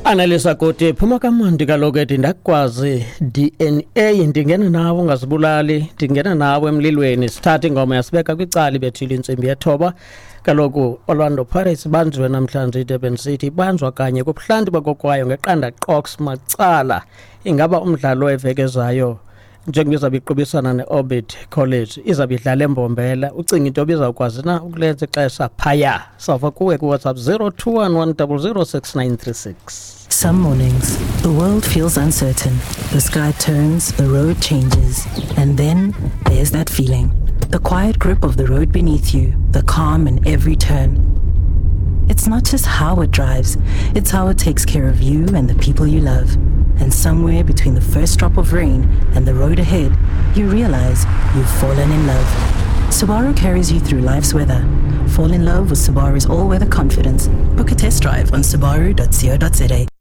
Anelisa Koti, phuma kamandi kaloku ethi ndakwazi DNA, ndingena nawe ungazibulali, ndingena nawe emlilweni. Sithatha ingoma yasibeka kwicala, ibethile intsimbi yethoba. Kaloku Orlando Pirates banjiwe namhlanje iDurban City, banjwa kanye kubuhlanti bakokwayo ngeqanda qox macala. Ingaba umdlalo evekezayo njengoba izawube iqubisana ne-Orbit College izawube idlala eMbombela, ucinga into yoba izawukwazi na ukulenza ixesha phaya? Sawuva kuwe kuWhatsApp 021 1006936. Some mornings, the world feels uncertain. The sky turns, the road changes, and then there's that feeling. The quiet grip of the road beneath you, the calm in every turn. It's not just how it drives, it's how it takes care of you and the people you love. And somewhere between the first drop of rain and the road ahead, you realize you've fallen in love. Subaru carries you through life's weather. Fall in love with Subaru's all-weather confidence. Book a test drive on subaru.co.za.